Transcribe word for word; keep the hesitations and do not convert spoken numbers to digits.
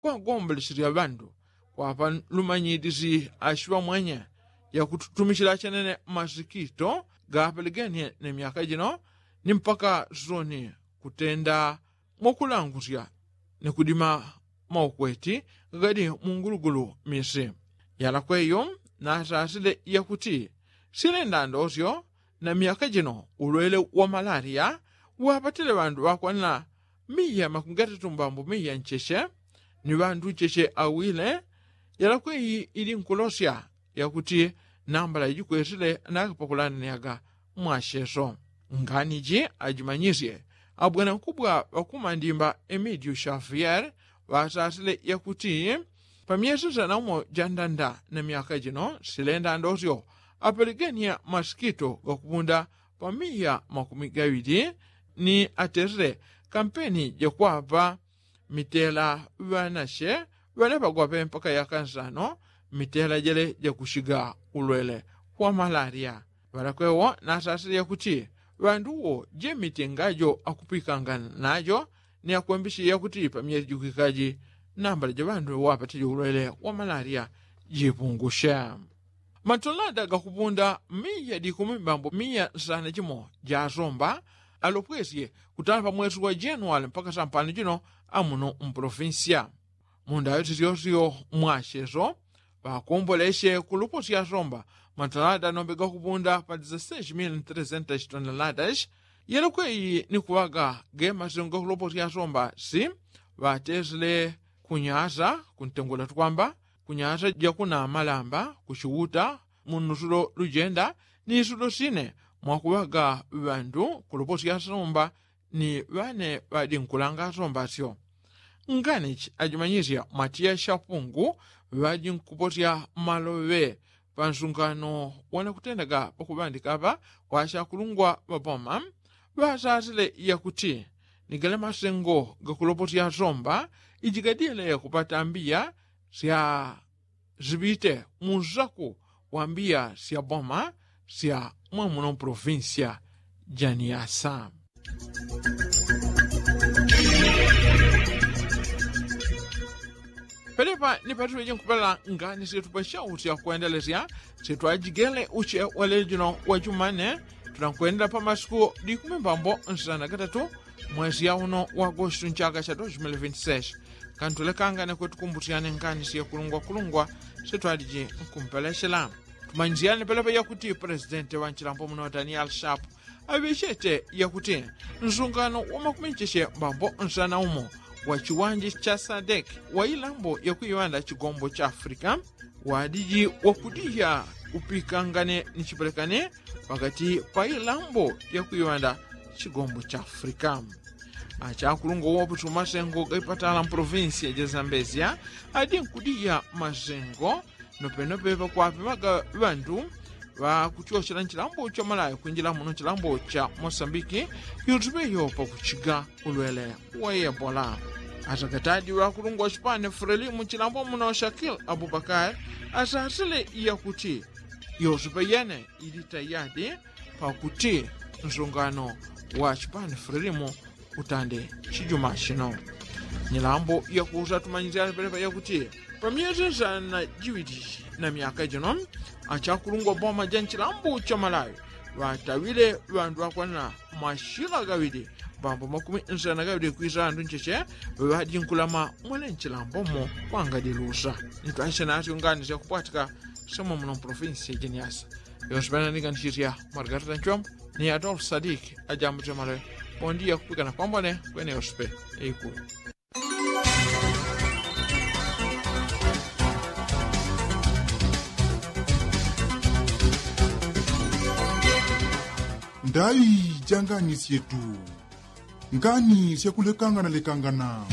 kwagombolesyesya ŵandu kwapa lumanyidisi ashiŵa mwanya yakututumisyila chenene masikito gapelegenie ne myaka jino ni mpaka soni kutenda mwakulangusya ni kudima maukweti gadi mungulugulu misi. Yalakweyo nasasile yakuti silenda ndosyo na myaka jino ulwele wa malaria wapatile ŵandu ŵakwanila miya makumi gatatu mbambu miya ncheche ni ŵandu ncheche awile. Yalakweyi ili nkulosya yakuti nambala ijikwesile nakapakulananiaga mwasheso. Ngani ji ajimanyisye abwanankubwa ŵakumandimba emidiu shafier ŵasasile yakuti pamyesi sana umo jandanda na myaka jino silenda ndosyo apelegenia masikito gakupunda pamiya makumi gaŵili ni atesile kampeni jakwapa mitela ŵanashe ŵanapagwape mpaka yaka nsano mitela jele jakushiga ulwele wa malaria. Ŵalakwewo nasasile yakuti ŵanduwo jemitengajo akupikanga najo ni akwembisye yakuti pamyesi jikwikaji nambala ja ŵandu wapatile ulwele wa malaria jipungushe. Matolada gakupunda miya dikumi mbambo miya nsana jimo jasomba alopwesye kutala pamwesi wa januali mpaka sampano jino amuno mpolofinsiya. Mundayo tisyosyo mwasheso ŵakombolesye kuluposya somba matalada nombe gakupunda pa dizaseshi mili ni tresenta shitoneladashi. Yelokweyi ni kuŵaga gemasengo gakuloposya somba si ŵatesile kunyasa kuntengula tukwamba kunyasa jakuna malamba kuchiuta mu nusulo lujenda ni isulo sine mwakuŵaga ŵandu kuloposya somba ni ŵane ŵadinkulanga asomba asyo. Nganichi ajimanyisya matiya shapungu ŵajinkuposya maloŵe pansungano wanakutendaga pakuŵandika apa kwa ashakulungwa ŵapoma ŵasasile yakuti ni gale masengo gakuloposya asomba iji gadile kupata mbiya sya ziŵite mu nsaku wa mbiya sya boma sya mwamuno mpolofinsiya ja niyasa. Pelepa ni patule jinkupela ngani syetu pa shau sya kwendelesya syetu ajigele uche wa lelo jino wa jumane. Tulankwendela pa masiku likumi mbambo nsana gatatu mwesi ya uno wa agostu nchaka cha dos mili vinti seshi. Kantulekangane kwetu kumbusyane ngani syekulungwa kulungwa syetu aliji nkumpeleshela. Tumanyisyane pelepa yakuti pulezidenti wa nchilambo muno daniel shapu aŵechete yakuti nsungano wa makumi ncheche mbambo nsana umo wa chiwanje cha sadeki wa ilambo yakuiŵanda chigombo cha afrika wadiji wakudiya upikangane ni chipelekane pakati pa ilambo yakuiŵanda chigombo cha afrika. Achakulungwa woputi umasengo gaipatala mpolovinsiya ja zambezya adi nkudiya masengo nopenope pakwapimaga ŵandu ŵakuchochela nchilambo cha malawi kwinjila muno nchilambo cha mosambiki. Yutupeyo pakuchiga ulwele wa ebola. Atakatadi ŵakulungwa wa chipani frelimu chilambo muno shakil abubakar asasile yakuti yosupe yene ili tayadi pakuti nsungano wa chipani frelimu utande chijuma chino. Nyilambo yakusa tumanyisyane pelepa yakuti pamyezi nsana jiŵili na myaka jino achakulungwa boma ja nchilambo cha malawi ŵatawile ŵandu ŵakwana mashila gaŵili mbambo makumi nsana gaŵili kwisa ŵandu ncheche ŵadinkulama mwele nchilambo mo kwangadilusa. Ntwashe nasyo ngani syakupwatika semwe muno mpolofinsi ya jeniasa. Yonse pena ninganisisya margarita nchombo ni adolfu sadiki ajambo tyamale. Pondiya kupikana kwambone kwene yonse pe. Eikulu. Ndai ja ngani syetu. Ngani syakulekangana lekangana.